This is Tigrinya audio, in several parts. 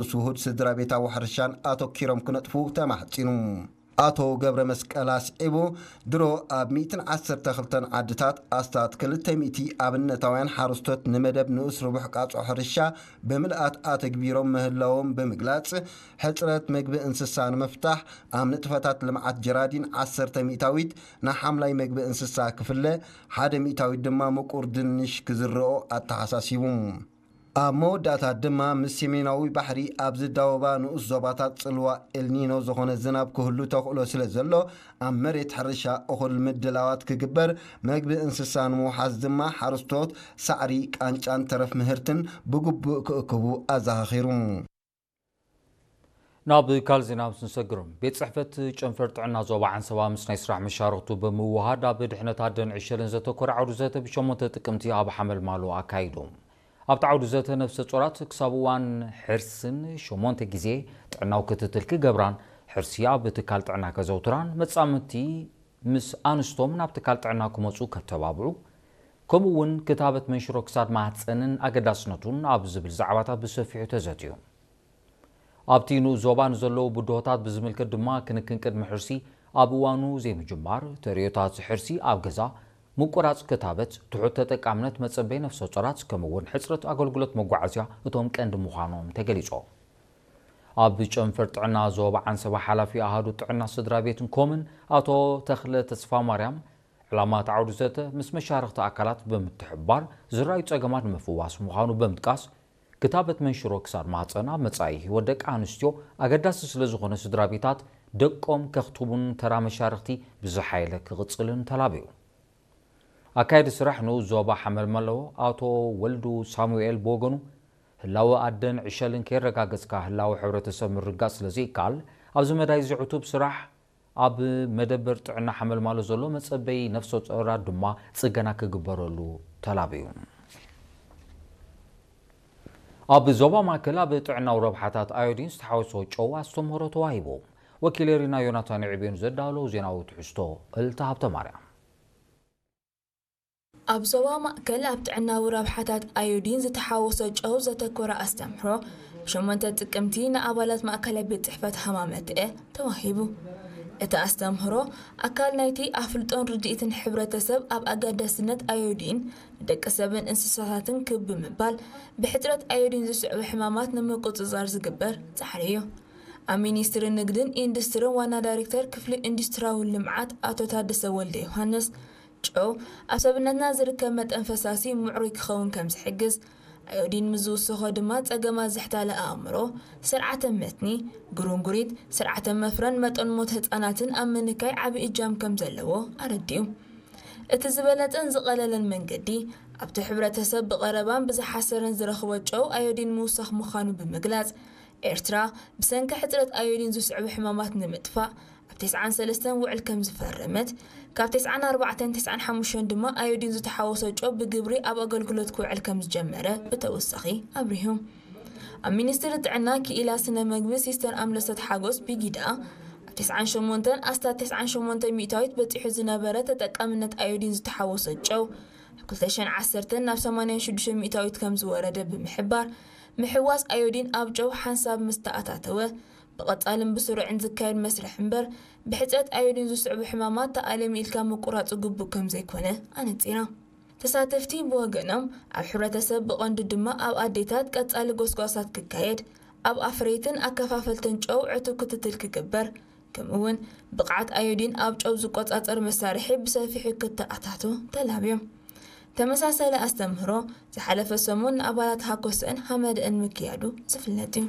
ምስ ውሁድ ስድራ ቤታዊ ሕርሻን ኣተኪሮም ክነጥፉ ተማሕጺኑ። ኣቶ ገብረ መስቀል ኣስዒቡ፣ ድሮ ኣብ ሚእትን ዓሰርተ ክልተን ዓድታት ኣስታት ክልተ ሚእቲ ኣብነታውያን ሓረስቶት ንመደብ ንኡስ ርቡሕ ቃጽዖ ሕርሻ ብምልኣት ኣተግቢሮም ምህላዎም ብምግላጽ፣ ሕጽረት መግቢ እንስሳ ንምፍታሕ ኣብ ንጥፈታት ልምዓት ጀራዲን ዓሰርተ ሚእታዊት ንሓምላይ መግቢ እንስሳ ክፍለ፣ ሓደ ሚእታዊት ድማ ምቁር ድንሽ ክዝርኦ ኣተሓሳሲቡ። ኣብ መወዳእታ ድማ ምስ ሰሜናዊ ባሕሪ ኣብ ዝዳወባ ንኡስ ዞባታት ጽልዋ ኤልኒኖ ዝኾነ ዝናብ ክህሉ ተኽእሎ ስለ ዘሎ፣ ኣብ መሬት ሕርሻ እኹል ምድላዋት ክግበር፣ መግቢ እንስሳ ንምውሓስ ድማ ሓረስቶት ሳዕሪ፣ ቃንጫን ተረፍ ምህርትን ብግቡእ ክእክቡ ኣዘኻኺሩ። ናብ ካልእ ዜና ምስ ንሰግር፣ ቤት ጽሕፈት ጨንፈር ጥዕና ዞባ ዓንሰባ ምስ ናይ ስራሕ መሻርኽቱ ብምውሃድ ኣብ ድሕነት ኣደን ዕሸልን ዘተኮረ ዓውዲ ዘተ ብሸሞንተ ጥቅምቲ ኣብ ሓመልማሎ ኣካይዱ። ኣብቲ ዓውዲ ዘተ ነፍሰ ጾራት ክሳብ እዋን ሕርስን ሸሞንተ ግዜ ጥዕናዊ ክትትል ክገብራን ሕርሲ ኣብ ትካል ጥዕና ከዘውትራን መጻምድቲ ምስ ኣንስቶም ናብ ትካል ጥዕና ክመጹ ከተባብዑ ከምኡ እውን ክታበት መንሽሮ ክሳድ ማህፀንን ኣገዳስነቱን ኣብ ዝብል ዛዕባታት ብሰፊሑ ተዘትዩ። ኣብቲ ንኡስ ዞባ ንዘለዉ ብድሆታት ብዝምልከት ድማ ክንክን ቅድሚ ሕርሲ ኣብ እዋኑ ዘይምጅማር፣ ተርእዮታት ሕርሲ ኣብ ገዛ፣ ምቁራጽ ክታበት፣ ትሑት ተጠቃምነት መጸበይ ነፍሰ ጾራት ከምኡ እውን ሕጽረት ኣገልግሎት መጓዓዝያ እቶም ቀንዲ ምዃኖም ተገሊጾ። ኣብ ጨንፈር ጥዕና ዞባ ዓንሰባ ሓላፊ ኣሃዱ ጥዕና ስድራ ቤትን ኮምን ኣቶ ተኽለ ተስፋ ማርያም ዕላማ እቲ ዓውዲ ዘተ ምስ መሻርኽቲ ኣካላት ብምትሕብባር ዝረኣዩ ጸገማት ንምፍዋስ ምዃኑ ብምጥቃስ ክታበት መንሽሮ ክሳድ ማህፀን ኣብ መጻኢ ህይወት ደቂ ኣንስትዮ ኣገዳሲ ስለ ዝኾነ ስድራ ቤታት ደቆም ከኽትቡን ተራ መሻርኽቲ ብዝሓየለ ክቕጽልን ተላብዩ። ኣካየዲ ስራሕ ንኡስ ዞባ ሓመልማሎ ኣቶ ወልዱ ሳሙኤል ብወገኑ ህላወ ኣደን ዕሸልን ከየረጋገጽካ ህላወ ሕብረተሰብ ምርጋጽ ስለ ዘይከኣል ኣብዚ መዳይ እዚ ዕቱብ ስራሕ ኣብ መደበር ጥዕና ሓመልማሎ ዘሎ መጸበይ ነፍሰ ጾራት ድማ ጽገና ክግበረሉ ተላብዩ። ኣብ ዞባ ማእከል ኣብ ጥዕናዊ ረብሓታት ኣዮዲን ዝተሓወሶ ጨው ኣስተምህሮ ተዋሂቡ። ወኪል ኤሪና ዮናታን ዕቤኑ ዘዳለዎ ዜናዊ ትሕዝቶ እልታ ሃብተ ማርያም። ኣብ ዞባ ማእከል ኣብ ጥዕናዊ ረብሓታት ኣዮዲን ዝተሓወሶ ጨው ዘተኮረ ኣስተምህሮ ብሸሞንተ ጥቅምቲ ንኣባላት ማእከላይ ቤት ጽሕፈት ሃማመተኤ ተዋሂቡ። እቲ ኣስተምህሮ ኣካል ናይቲ ኣፍልጦን ርድኢትን ሕብረተሰብ ኣብ ኣገዳስነት ኣዮዲን ንደቂ ሰብን እንስሳታትን ክብ ብምባል ብሕጽረት ኣዮዲን ዝስዕቡ ሕማማት ንምቁጽጻር ዝግበር ጻዕሪ እዩ። ኣብ ሚኒስትሪ ንግድን ኢንዱስትርን ዋና ዳይሬክተር ክፍሊ ኢንዱስትራዊ ልምዓት ኣቶ ታደሰ ወልደ ዮሃንስ፣ ጨው ኣብ ሰብነትና ዝርከብ መጠን ፈሳሲ ምዕሩይ ክኸውን ከም ዝሕግዝ፣ ኣዮዲን ምስ ዝውሰኾ ድማ ጸገማት ዝሕታለ ኣእምሮ፣ ስርዓተ መትኒ፣ ግሩንጉሪት፣ ስርዓተ መፍረን መጠን ሞት ህጻናትን ኣብ ምንካይ ዓቢ እጃም ከም ዘለዎ ኣረዲኡ። እቲ ዝበለጸን ዝቐለለን መንገዲ፣ ኣብቲ ሕብረተሰብ ብቐረባን ብዝሓሰረን ዝረኽቦ ጨው ኣዮዲን ምውሳኽ ምዃኑ ብምግላጽ፣ ኤርትራ ብሰንኪ ሕጽረት ኣዮዲን ዝስዕቡ ሕማማት ንምጥፋእ ኣብ ተስዓን ሰለስተን ውዕል ከም ዝፈረመት፣ ካብ ተስዓን ኣርባዕተን ተስዓን ሓሙሽተን ድማ ኣዮዲን ዝተሓወሶ ጨው ብግብሪ ኣብ ኣገልግሎት ክውዕል ከም ዝጀመረ ብተወሳኺ ኣብሪሁ። ኣብ ሚኒስትሪ ጥዕና ክኢላ ስነ መግቢ ሲስተር ኣምለሰት ሓጎስ ብጊዳ፣ ኣብ ተስዓን ሸሞንተን ኣስታት ተስዓን ሸሞንተ ሚእታዊት በጺሑ ዝነበረ ተጠቃምነት ኣዮዲን ዝተሓወሶ ጨው፣ ኣብ ክልተ ሽሕን ዓሰርተን ናብ ሰማንያን ሽዱሽተን ሚእታዊት ከም ዝወረደ ብምሕባር፣ ምሕዋስ ኣዮዲን ኣብ ጨው ሓንሳብ ምስ ተኣታተወ፣ ብቐጻልን ብስሩዕን ዝካየድ መስርሕ እምበር፣ ብሕጽረት ኣዮዲን ዝስዕቡ ሕማማት ተኣለሚ ኢልካ ምቁራጹ ግቡእ ከም ዘይኮነ ኣነጺራ። ተሳተፍቲ ብወገኖም፣ ኣብ ሕብረተሰብ ብቐንዱ ድማ ኣብ ኣዴታት ቀጻሊ ጎስጓሳት ክካየድ፣ ኣብ ኣፍረይትን ኣከፋፈልትን ጨው ዕቱብ ክትትል ክግበር፣ ከምኡ'ውን ብቕዓት ኣዮዲን ኣብ ጨው ዝቆጻጸር መሳርሒ ብሰፊሑ ክተኣታቶ ተላብዮም። ተመሳሳሊ ኣስተምህሮ ዝሓለፈ ሰሙን ንኣባላት ሃኮሰን ሃመደአን ምክያዱ ዝፍለጥ እዩ።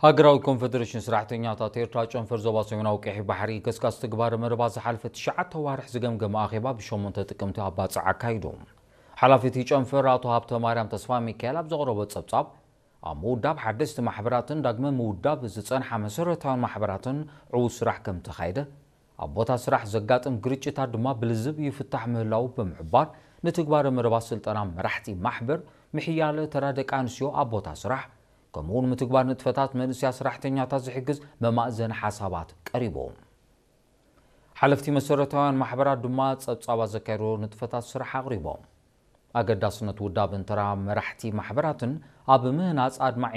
ሃገራዊ ኮንፈደሬሽን ሰራሕተኛታት ኤርትራ ጨንፈር ዞባ ሰሜናዊ ቀይሕ ባሕሪ ገስጋስ ትግባረ መደባት ዝሓለፈ ትሽዓተ ዋርሕ ዝገምገመ ኣኼባ ብሸሞንተ ጥቅምቲ ኣብ ባጽዕ ኣካይዱ። ሓላፊ እቲ ጨንፈር ኣቶ ሃብተ ማርያም ተስፋ ሚካኤል ኣብ ዘቕረቦ ጸብጻብ፣ ኣብ ምውዳብ ሓደስቲ ማሕበራትን ዳግመ ምውዳብ ዝጸንሓ መሰረታውያን ማሕበራትን ዕዉት ስራሕ ከም ተኻየደ፣ ኣብ ቦታ ስራሕ ዘጋጥም ግርጭታት ድማ ብልዝብ ይፍታሕ ምህላዉ ብምሕባር፣ ንትግባረ መደባት ስልጠና መራሕቲ ማሕበር፣ ምሕያለ ተራ ደቂ ኣንስትዮ ኣብ ቦታ ስራሕ፣ ከምኡውን ምትግባር ንጥፈታት መንእሰያ ሰራሕተኛታት ዝሕግዝ መማእዘኒ ሓሳባት ቀሪቡ። ሓለፍቲ መሰረታውያን ማሕበራት ድማ ጸብጻባት ዘካየድዎ ንጥፈታት ስራሕ ኣቕሪቦም። ኣገዳስነት ውዳብን ተራ መራሕቲ ማሕበራትን ኣብ ምህናጽ ኣድማዒ